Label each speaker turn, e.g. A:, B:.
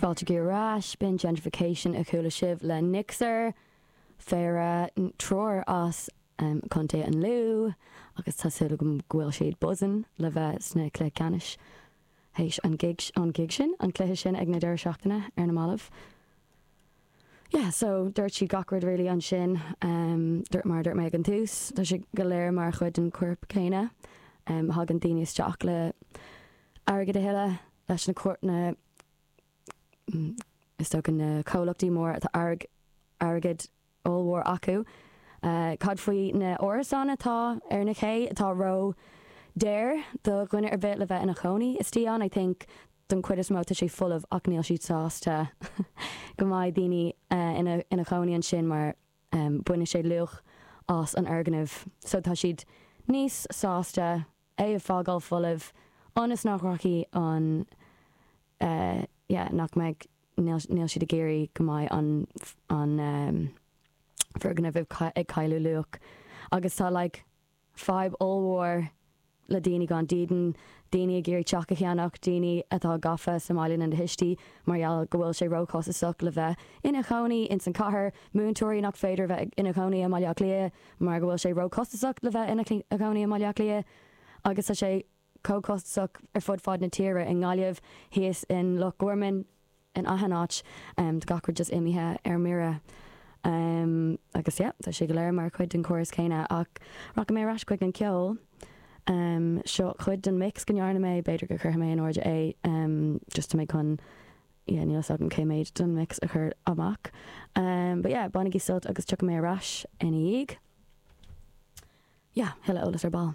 A: Fáilte ar ais, b'in Gentrification a chuala sibh le Nixer, péire triúr as Contae an Lú agus tá súil agam go bhfuil siad buzzing le bheith sna cluiche ceannais théis an gig, an gig sin, an cluiche sin ag na deireadh seachtaine ar na mallaibh. Yeah, so dúirt siad gach rud really ansin, dúirt mar a dúirt mé ag an tús, tá sé go léir mar chuid den chorp céanna. Thagann daoine isteach le airgead a thuilleadh leis na na is dócha na comhlachtaí móra atá airgead ollmhór acu. Cad faoi na árasáin atá ar na cé atá ró daor do dhuine ar bith le bheith ina chónaí istigh ann? I think don chuid is mó tá sé folamh ach níl siad sásta go mbeidh daoine ina ina chónaí ansin mar bainfidh sé luach as an fhoirgneamh so tá siad níos sásta é a fágáil folamh ionas nach rachaidh an yeah nach mbeidh níl níl siad ag iarraidh go mbeidh an an foirgneamh ag cailleadh luach agus tá like fadhb ollmhór le daoine gan dídean, daoine ag iarraidh teach a cheannach, daoine atá gafa sa mbaile lena thuistí mar gheall go bhfuil sé róchostasach le bheith ina chónaí ins an chathair, múinteoirí nach féidir bheith ina chónaí i mBaile Átha Cliath mar go bhfuil sé róchostasach le bheith ina chónaí i mBaile Átha Cliath agus tá sé chomh costasach ar fud fad na tíre, i nGaillimh, thíos in Loch Gorman, in achan áit. Tá gach rud just imithe ar mire. Agus yeah, tá sé go léir mar chuid den chóras céanna. Ach rachaidh mé ar ais chuig an ceol. Seo cuid den mix go ndearna mé, b'fhéidir go cuirfidh mé in airde é, just tá mé chun, yeah, níl fhios agam cé méid den mix a chur amach. But yeah, bainigí sult agus tiocfaidh mé ar ais ina dhiaidh. Yeah, thuilleadh eolas ar ball.